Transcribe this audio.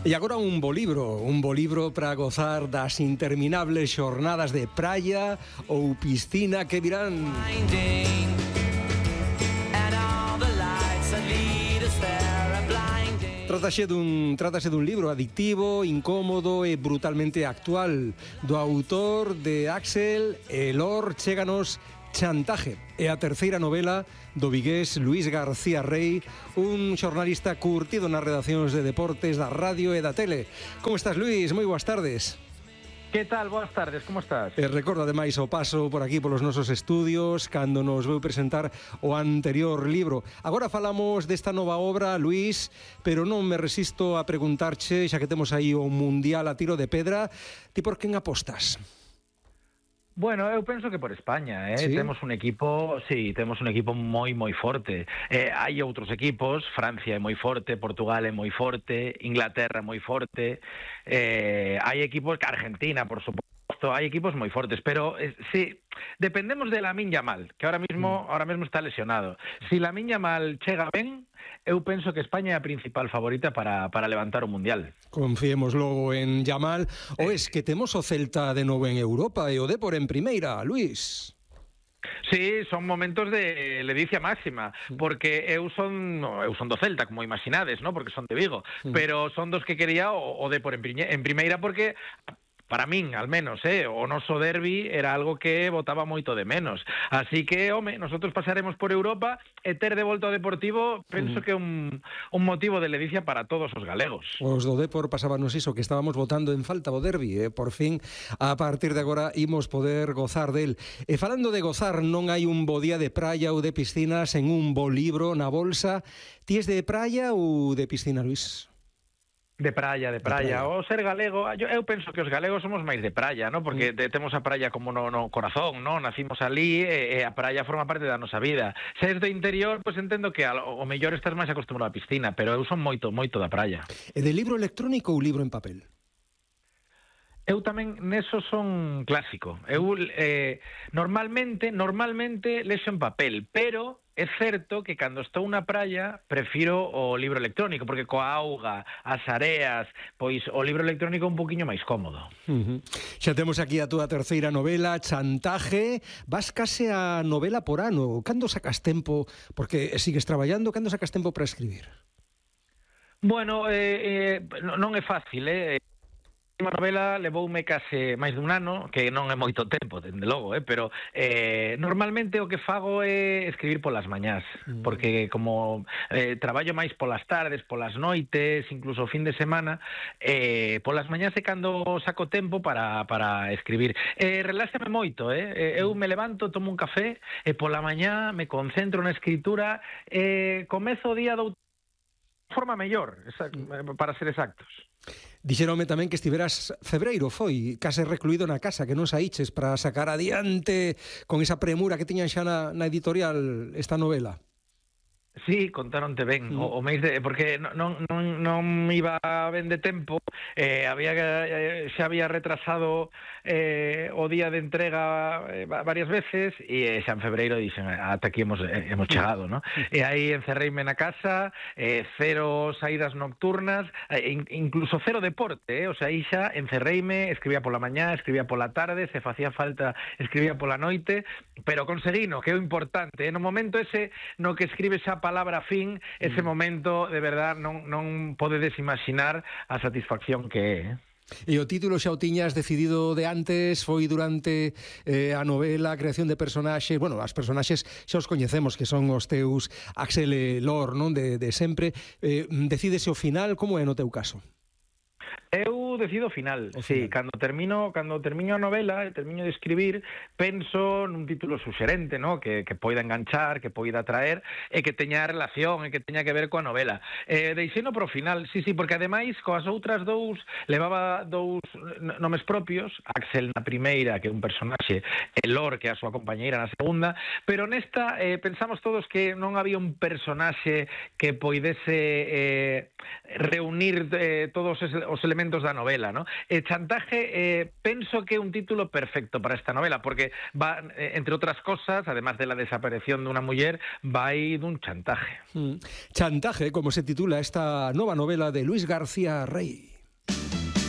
E agora un bo libro para gozar das interminables xornadas de praia ou piscina que virán. Trátase dun libro adictivo, incómodo e brutalmente actual do autor de Axel Elor. Chéganos Chantaje, é a terceira novela do vigués Luís García Rey, un xornalista curtido nas redaccións de deportes da radio e da tele. Como estás, Luís? Moi boas tardes. Que tal? Boas tardes, como estás? Recordo ademais o paso por aquí polos nosos estudios cando nos veu presentar o anterior libro. Agora falamos desta nova obra, Luís, pero non me resisto a preguntarche, xa que temos aí o Mundial a tiro de pedra, ti por quen apostas? Bueno, eu penso que por España, ¿Sí? Temos un equipo moi forte. Hai outros equipos, Francia é moi forte, Portugal é moi forte, Inglaterra é moi forte, hai equipos, Argentina, por suposto, hai equipos moi fortes, pero sí, dependemos de Lamine Yamal, que ahora mismo está lesionado. Si Lamine Yamal chega ben, eu penso que España é a principal favorita para levantar o Mundial. Confiemos logo en Yamal. O es que temos o Celta de novo en Europa e o Dépor en primeira, Luís. Sí, son momentos de ledicia máxima, porque eu son do Celta, como imaginades, ¿no? Porque son de Vigo, pero son dos que quería o Dépor en primeira, porque para min, al menos, o noso derbi era algo que botaba moito de menos. Así que, nosotros pasaremos por Europa e ter de volta ao Deportivo, penso que é un motivo de ledicia para todos os galegos. Os do Dépor pasábanos iso, que estábamos votando en falta o derbi, por fin, a partir de agora, imos poder gozar del. E falando de gozar, non hai un bo día de praia ou de piscinas en un bo libro na bolsa. Ti es de praia ou de piscina, Luís? De praia. O ser galego, eu penso que os galegos somos máis de praia, ¿no? Porque temos a praia como no corazón, ¿no? Nacimos ali e a praia forma parte da nosa vida. Se és do interior, pois entendo que o mellor estás máis acostumbrado á piscina, pero eu son moito da praia. E de libro electrónico ou libro en papel? Eu tamén neso son clásico. Eu normalmente lexo en papel, pero é certo que cando estou na praia prefiro o libro electrónico, porque coa auga, as areas, pois o libro electrónico é un poquinho máis cómodo. Xa temos aquí a túa terceira novela, Chantaje. Vas case a novela por ano. Cando sacas tempo, porque sigues traballando, cando sacas tempo para escribir? Bueno, non é fácil, A novela levoume case máis dun ano, que non é moito tempo, dende logo, pero normalmente o que fago é escribir polas mañás, porque como traballo máis polas tardes, polas noites, incluso o fin de semana, polas mañás é cando saco tempo para escribir. Reláxame moito, eu me levanto, tomo un café, e pola mañá me concentro na escritura, comezo o día de forma mellor, para ser exactos. Dixeronme tamén que estiveras febreiro, foi, case recluído na casa, que non saíches para sacar adiante con esa premura que tiñan xa na editorial esta novela. Sí, contaronte ben, o mes de, porque non iba ben de tempo, xa había retrasado o día de entrega varias veces, e xa en febreiro dixen, ata aquí hemos chegado, ¿no? E aí encerreime na casa, cero saídas nocturnas, incluso cero deporte, o sea, aí xa encerreime, escribía pola mañá, escribía pola tarde, se facía falta, escribía pola noite, pero conseguino, que é o importante, no momento ese no que escribes a palabra fin, ese momento, de verdad, non podedes imaginar a satisfacción que é. E o título xa o tiñas decidido de antes, foi durante a novela, a creación de personaxes, bueno, as personaxes xa os coñecemos, que son os teus Axel Elor, non, de sempre. Decídese o final, como é no teu caso? Eu decido o final. Sí, cando termino a novela e termino de escribir, penso nun título suxerente, ¿no? Que poida enganchar, que poida atraer e que teña relación e que teña que ver coa novela. Deixeno pro final, sí, porque ademais coas outras dous levaba dous nomes propios, Axel na primeira, que é un personaxe, Elor, que é a súa compañeira na segunda, pero nesta pensamos todos que non había un personaxe que poidese reunir todos os elementos da novela, ¿no? Chantaje, penso que é un título perfecto para esta novela, porque va, entre outras cosas, además de la desaparición de unha muller, vai dun chantaje. Chantaje, como se titula esta nova novela de Luís García Rey.